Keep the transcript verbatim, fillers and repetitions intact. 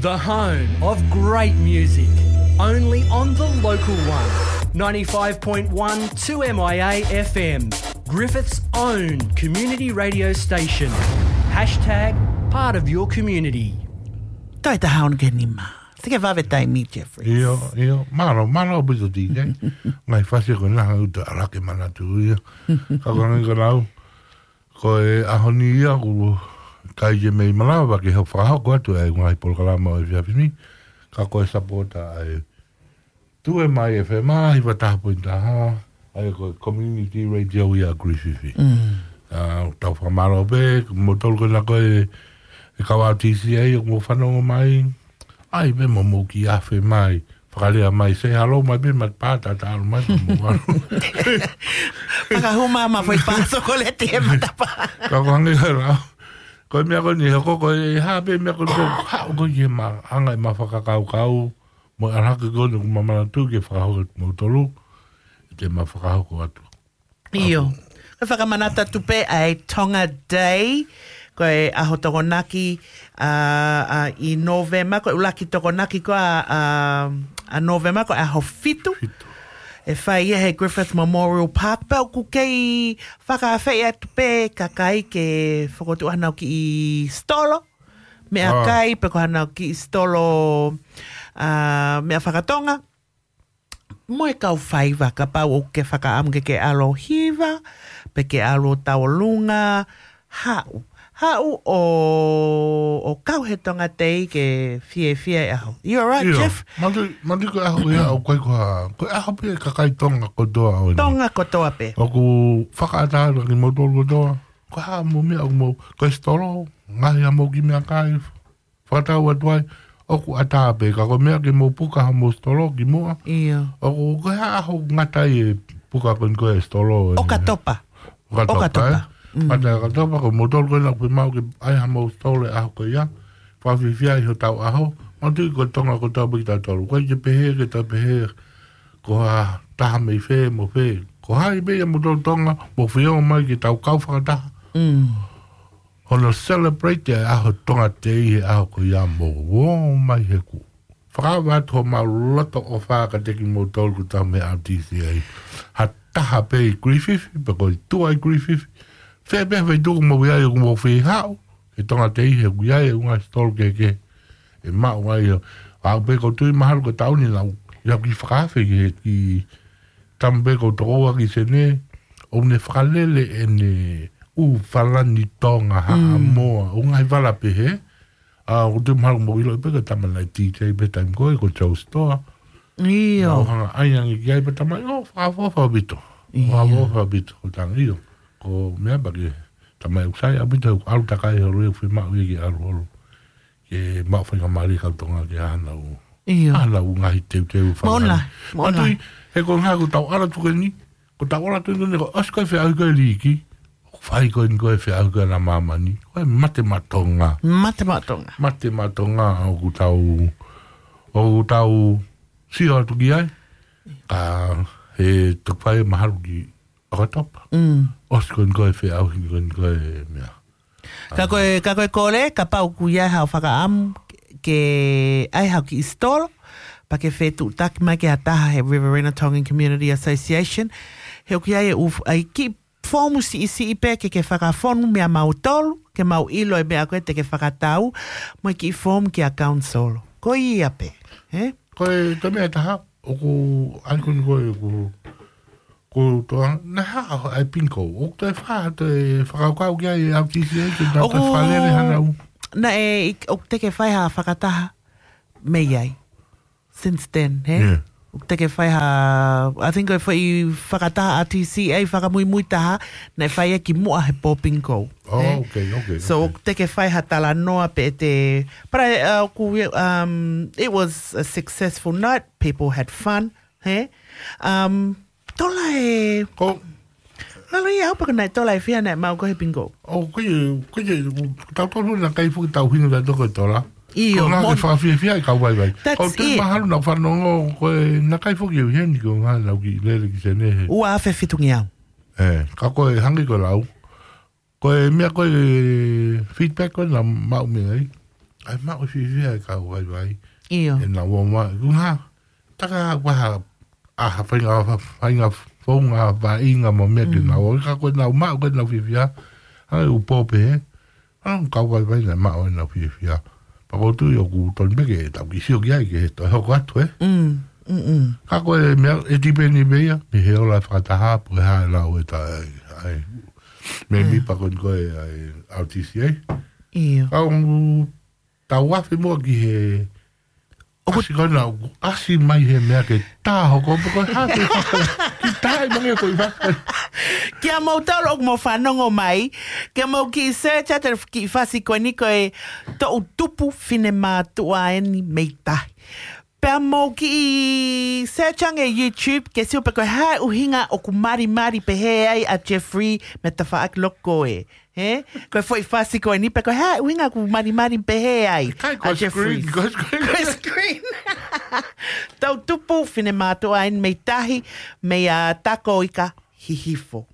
The home of great music, only on the local one. ninety-five point one two M I A F M, Griffith's own community radio station. Hashtag part of your community. Taita haun ke nima. Te ke vave taimi, Jeffrey. ʻIo, ʻio. Mālō, mālō ʻaupito, D J. Ngaahi fasi ko ena hanga ʻo ʻalake manatu ia. Ka ko e hangē ko ʻeku lau, ko e ʻaho ni ia ʻoku ʻikai ke mei malava ke fakahoko atu e ngaahi polokalama ʻo e efiafi ni. Ka ko e sapota ʻa e two M I A F M, hiva taha poini taha, ʻa ia ko e community radio ia ʻa Griffith. Mm. ʻA, tau fakamālō pē, kimoutolu ko ena ko e, e kau R T C A ʻoku mou fanongo mai. ʻAi pē mo mou kiʻi afe mai, fakalea mai, say hello mai pē, ma pātata ʻalu mai pē mo ʻalu. Fakahū mai ma foʻi pā sokoleti he matapā. Ka ko e hangē ko ʻeku lau, ko e meʻa ko eni, he ko ko e hā pē meʻa ko eni, ko e haʻu ko ē ke ma hanga ʻe ma fakakaukau, mo e ʻalu hake ko eni ʻoku ma manatu ke fakahoko atu moutolu, ʻe te ma fakahoko atu. ʻIo. Ko e fakamanatu atu pē ʻa e Tonga Day, ko e ʻaho Tokonaki, ʻa, ʻa, ʻi Nōvema, ko e ʻuluaki Tokonaki ko ē ʻa, ʻa, ʻa Nōvema, ko e ʻaho fitu. Fitu. ʻE fai ia he Griffith Memorial Park, pea ʻoku kei fakaafeʻi atu pē kakai ke fokotuʻu hanau kiʻi stolo, meʻakai, pe ko hanau kiʻi stolo, ʻa, meʻa fakatonga. Mo e kau faiva, kapau ʻoku ke fakaʻamu ke ke ʻalu ʻo hiva, pe ke ʻalu ʻo tauʻolunga, haʻu. Haʻu ʻo, ʻo kau he Tonga Day ke fiefia e ʻaho. You all right, ʻIo, Jeff? Matu, matu ko e ʻaho ia ʻoku ʻikai ko ha, ko e ʻaho pē kakai Tonga kotoa ʻo eni. Tonga kotoa pē. ʻOku fakaʻatā atu kimoutolu kotoa. Ko e hā mo e meʻa ʻoku mou, ko e stolo, ngaahi ʻa mou kiʻi meʻakai, fakatau atu ai, ʻoku ʻatā pē, ka ko e meʻa ke mou puka ha mou stolo kimuʻa. ʻIo. ʻOku, ko e hā ʻaho ngata ai e puka ko eni ko e stolo, ʻe? ʻOkatopa. ʻOkatopa, ʻOkatopa. ʻE? Mm. Ngata ai ʻOkatopa, ko moutolu ko ena ʻoku fiemaʻu ke ʻai ha mou stolo he ʻaho ko ia. Fakafiefia ʻi hotau ʻaho. Manatuʻi ko Tonga kotoa pē kitautolu. ʻOku ʻikai ke pehē, ke ta pehē, ko ha taha mei fē, mo fē. Ko hai pē ia moutolu Tonga, mou feongo mai ke tau kau fakataha. Mm. Hono celebrate e ʻaho Tonga Day he ʻaho ko ia mo ō mai he kuo fakaava atu homau loto ʻofa kiate kimoutolu ko e tau meʻa R T C A. Ha taha pē ʻi Griffith, pe ko e tuʻa ʻi Griffith. Fē pē ha feituʻu ʻoku mou ʻi ai ʻoku mou fie haʻu he Tonga Day he ʻoku ʻi ai e ngaahi stolo kehekehe ʻe maʻu ai ʻo. ʻA pē ko e tui mahalo ko e taʻu ni naʻa ku, ia ki fakaafe ki he, ki tama pē ko e tokoua ki Senē, ʻo ne fakalele ʻene ʻū falani Tonga, Mm. Haʻamoa, ʻū ngaahi vala pehē. ʻA, ʻoku te mahalo mou ʻilo pē ko e tama naʻe D J pē taimi ko ē, ko Joe Store. ʻIo. Naʻa ku hanga ʻai ange ki ai pē tama, ʻio, fakaʻofoʻofa ʻaupito. ʻIo. Fakaʻofoʻofa ʻaupito, ko e tanga ʻio. Ko e meʻa pē ke tama ʻoku sai ʻaupito, ʻalu takai holo ʻoku fiemaʻu ia ke ʻalu holo. Ke maʻu faingamālie kau Tonga ke ʻalu ʻo ʻIo. ʻAlu ʻo ngaahi teuteu Mauna, fakahā. Mauna. Manatuʻi, he ko e ngaahi ko ʻetau ʻalu atu ko eni, ko ʻetau ʻalu atu ko eni ko e ʻosi ko e feʻauhi ko e liiki, ʻoku fai ko eni ko e feʻauhi ko ena māmani, ko e mate maʻa Tonga. Mate maʻa Tonga. Mate maʻa Tonga ʻoku tau, ʻoku tau sio atu ki ai, ka he toki fai mahalo ki ʻOkatopa. Mm. ʻOsi ko eni ko e feʻauhi ko eni ko e meʻa. Ka ko e, ka ko e kole, kapau ʻoku ʻi ai haʻo fakaʻamu ke ʻai haʻo kiʻi stolo, pea ke fetuʻutaki mai ki ha taha he Riverina Tongan Community Association, he ʻoku ʻi ai e ʻū, ʻai kiʻi foomu siʻisiʻi pē ke ke fakafonu meia mautolu, ke mau ʻilo e meʻa ko ē te ke fakatau, mo e kiʻi foomu kia council. Ko ia pē, ē? Ko e, ko e meʻa ʻe taha, ʻoku ʻai ko eni ko e, ʻoku, ko e toa, naʻe haʻu ai e bingo. ʻOku toe fai, toe fakakaukau ki ai e R T C A, ke nau toe ʻOku fakalele hanau. Naʻe, ʻoku teʻeki fai ha fakataha mei ai. Since then, he? Yeah. ʻOku teʻeki fai ha, I think ko e foʻi fakataha R T C A fakamuimui taha, naʻe fai ia kimuʻa he pō bingo, Oh, he? okay, okay, So, okay. ʻoku teʻeki fai ha talanoa pē te, but I, uh, ʻoku, um, it was a successful night. People had fun, he? Um, tola e Ko Lalo ia au paka naʻe tola e fiha naʻe maʻu ko ē he bingo. ʻO, ko e, ko e, tau tolu naʻe ʻikai foki tau hino tautolu ko e tola. ʻIo, Ko e ngaahi mo- ke fakafiefia e kau vaivai. That's ʻOku te it. mahalo naʻa ku fanongo ko e naʻe ʻikai foki ʻe ʻi heni ko e ngaahi naʻa ku kiʻi lele ki Senē he. Ua afe fitungeau. ʻE, ka ko e hangē ko e lau. Ko e meʻa ko e feedback ko ē naʻa ku maʻu mei ai. ʻAi maʻu fiefia e kau vaivai. ʻIo. ʻE nau ō mai. Kuo hā. Taka ʻoku ʻi ai ha faʻahinga, faʻahinga founga, faʻahinga mo meʻa ke nau ō. Ka ko e nau maʻu, ko e nau fiefia. ʻAi ʻū pō pē he. ʻA e kau vaivai naʻe maʻu ʻenau fiefia. Pea ʻoku ou tui ʻoku tonu pē ke tau kiʻi sio ki ai ke toe hoko atu, ē? Mm, mm, mm. Ka ko e meʻa, ʻe tipeni pē ia, mei he ola fakataha, pe ko e hā e lau ʻe taha, ʻa e, ʻa e, mēmipa ko eni ko ē, ʻa e, R T C A. ʻIo. Ka ʻoku tau afe muʻa ki he ʻoku ʻasi ko ena, ʻoku ʻasi mai he meʻa ke tā hoko, pe ko e hā ke faka-, ki tā i mange ko i faka-. Kia moutolu ʻoku mou fanongo mai, kia mou kiʻi search atu e kiʻi fasi ko eni ko e Toʻu Tupu Finemātuʻa Eni Mei Tahi. Pea mou kiʻi search ange YouTube, ke sio pe ko e hā e ʻuhinga ʻoku malimali pehē ai ʻa Jeffrey mo e tafaʻaki loko ē. He? Ko e foʻi fasi ko eni pe ko e hā e ʻuhinga ʻoku malimali pehē ai. Kai ko ʻa Jeffrey. Screen, ko screen. Ko screen. Toʻu Tupu Finemātuʻa Eni Mei Tahi, mei a Takoika Hihifo.